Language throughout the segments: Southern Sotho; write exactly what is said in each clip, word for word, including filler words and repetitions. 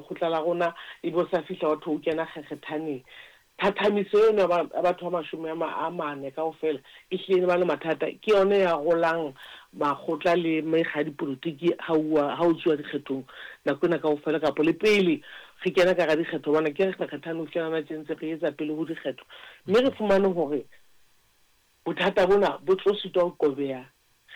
lekgotla la rona, ebe o sa fihla wa thwe o kena kgekgethaneng. Thathamiso eno ya batho ba mashome a mane kaofela e hlile e ba le mathata. Ke yona ya rolang makgotla le mekga ya dipolotiki ha o tsuwa dikgethong nako ena kaofela, kapa le pele re kena ka hara dikgetho, hobane ke re kgekgethane ho fihlela hona tje ntse re etsa pele ho dikgetho. Mme re fumane hore bothata bona bo tlo sitwa ho qobeha.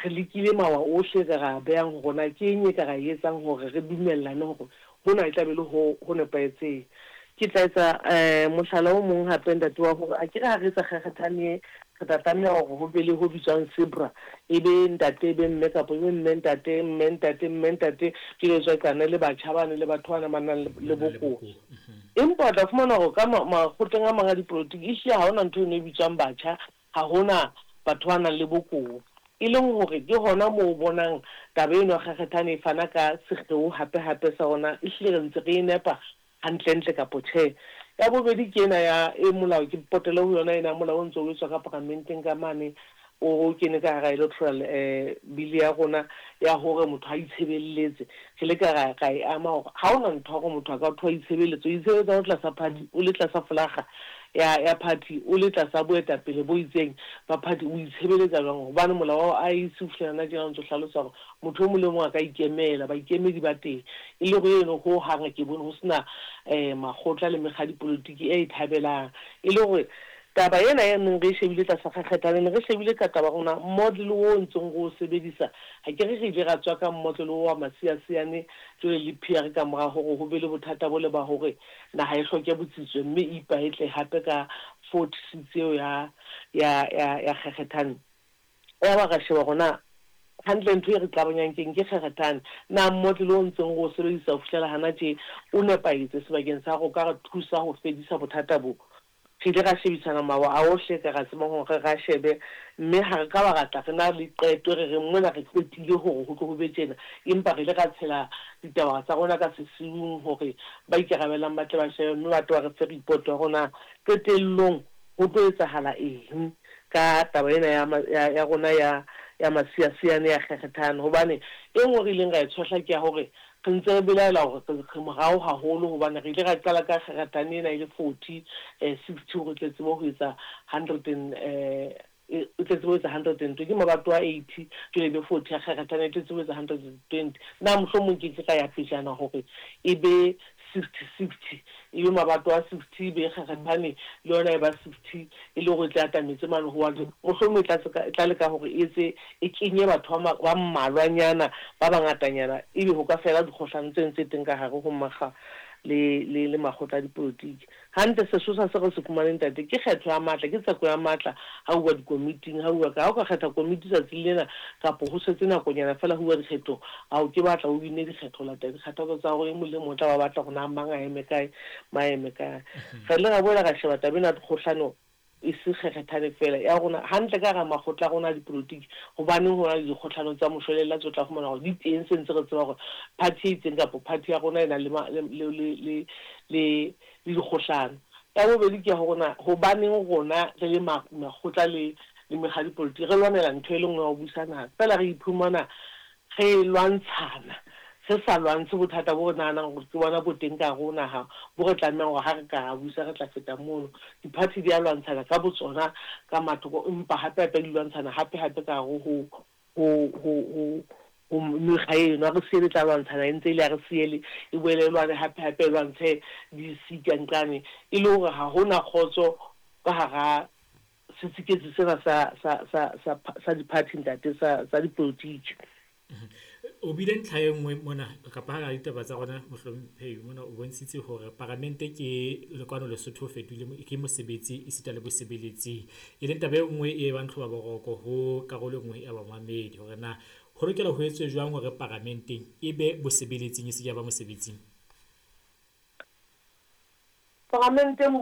Re lekile mawa ohle re ra behang hore na ke eng e ka ra etsang hore re dumellane hore hona e tla be le ho ho nepahetseng. Ke tla etsa um mohlala o mong hape ntate wa hore akere ha re etsa kgekgethane e, re tla tlameha hore ho be le ho bitswang sebra, e be ntate e be mme, kapa e be mme ntate, mme ntate, mme ntate, jwale tswa qane le batjha bane le batho bana ba nang le bokowa. Empa o tla fumana hore ka makgotleng a mang a dipolotiki ehlile ha hona ntho eno e bitswang batjha, ha hona batho ba nang le bokowa. E leng hore ke hona moo o bonang taba eno ya kgekgethane e fana ka sekgeo hape hape sa hona ehlile re ntse re e nepa hantlentle kapo tjhe. Ya bobedi ke ena ya e molao, ke potele ho yona ena ya molao o ntso o etswa ka paramenteng ka mane, o kene ka hara electoral eh bill ya rona ya hore motho a itshebeletse. Re le ka ra e ama hore ha hona ntho ya hore motho a ka thwa itshebeletse, o itshebeletsa o tlasa party, o le tlasa folaga ya ya party, o le tlasa boetapele bo itseng ba party, o itshebeletsa jwang? Hobane molao wa I E C o fihlela hona tjena o ntso hlalosa hore motho o mong le mong a ka ikemela, baikemedi ba teng. E le hore eno ho hang ke bone ho sena eh makgotla le mekga ya dipolotiki e thabelang. E le hore taba ena e neng re e shebile tlasa kgekgethane, ne re shebile ka taba rona model o ntseng re o sebedisa. Ha ke re re ile ra tswa ka model o wa masiasiane jwale le P R ka mora hore ho be le bothata bo le ba hore naha e hloke botsitso, mme e ipaetle hape ka forty seats eo ya ya ya ya kgekgethane. Ya ba ra sheba rona hantle ntho e re qabanyang keng ke kgekgethane. Na model o ntseng re o sebedisa ho fihlela hana tje o nepahetse sebakeng sa hore o ka re thusa ho fedisa bothata bo? Re ile ra shebisana mawa a ohle ka ra tsebang hore re shebe, mme ha re ka ba ratla re na le qeto re re mona re qetile hore ho tlo ho be tjena, empa re ile ra tshela ditaba tsa rona ka sesiung hore ba ikarabelang ba tle ba shebe, mme ba tlo ba re fe report ya rona qetellong ho tlo etsahala eng ka taba ena ya ya, ya rona ya ya masiasiane ya kgekgethane. Hobane e nngwe re ileng ra e tshohla ke ya hore re ntse re belaela hore re morao haholo, hobane re ile ra qala ka kgekgethane ena e le forty eh sixty hore tle tsebe ho etsa hundred and eh e tle tsebe ho etsa hundred and twenty, ke mabato a eighty jwale e be forty ya kgekgethane e tle tsebe ho etsa hundred and twenty. Na mohlomong ke ke ka ya pejana hore e be sixty sixty, e be mabato a sixty, e be kgekgethane le yona e ba sixty, e le hore e tle atametse mane ho wa mohlomong e tla e tla leka hore e etse e kenye batho ba mmalwanyana ba bangatanyana, ebe ho ka fela dikgohlano tse ntse teng ka hare ho makga le le le makgotla a dipolotiki. Hantle sesosa se re se fumaneng ntate ke kgetho ya matla, ke tseko ya matla ha uwa dikomiting, ha uwa ka ha o ka kgetha komiti tsatsing lena kapo ho setse nakonyana fela ho uwa dikgethong, ha o ke batla o wine dikgetho, latela dikgathatso tsa hore e mong le mong o tla ba batla hore na mang a eme kae, mang a eme kae. Re ile ra boela ra sheba taba ena ya dikgohlano e se kgekgethane fela ya rona hantle ka hara makgotla a rona a dipolotiki, hobaneng ho na le dikgohlano tsa moshwelella tse o tla fumana hore di teng, se ntse re tseba hore party e itseng kapa party ya rona e na le le le le le dikgohlano. Ya bobedi ke ya hore na hobaneng rona re le makgotla le le mekga ya dipolotiki re lwanela ntho e le nngwe ya ho busa naha, fela re iphumana re lwantshana, re sa lwantshe bothata bo re nahanang hore ke bona bo teng ka hare ho naha, bo re tlamehang hore ha re ka ra busa re tla feta mono. Di-party di a lwantshana ka botsona ka mathoko, empa hape hape di lwantshana hape hape ka hare ho ho ho ho ho mekga eno. Ha re siele tla lwantshana e ntse e le ha re siele e boele e lwane hape hape e lwantshe di-C ka nqane, e le hore ha hona kgotso ka hara setsiketsi sena sa sa sa sa sa di-party ntate, sa sa dipolotiki. O bile ntlha e nngwe mona kapa hara ditaba tsa rona mohlomphehi mona, o bontshitse hore paramente ke lekwano Lesotho fetohile ke mosebetsi esita le bosebeletsing, e leng taba e nngwe e bang tlhoba boroko ho karolo e nngwe ya bamamedi hore na ho lokela ho etswe jwang hore paramenteng e be bosebeletsing e se ke ya ba mosebetsing. Paramenteng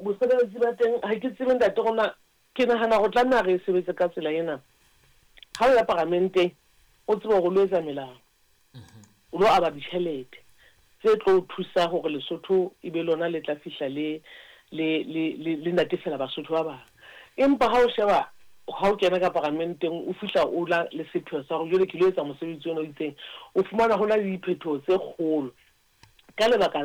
bosebeletsi ba teng ha ke tsebe ntate rona, ke nahana ho tlameha re e sebetse ka tsela ena. Ha o ya paramenteng o tsebe hore o lo etsa melao, o lo aba ditjhelete tse tlo thusa hore Lesotho e be lona le tla fihla le le le le natefela Basotho ba bang. Empa ha o sheba ha o kena ka paramenteng o fihla o la le sepheo sa hore jwale ke lo etsa mosebetsi ona o itseng, o fumana ho na le diphetoho tse kgolo ka lebaka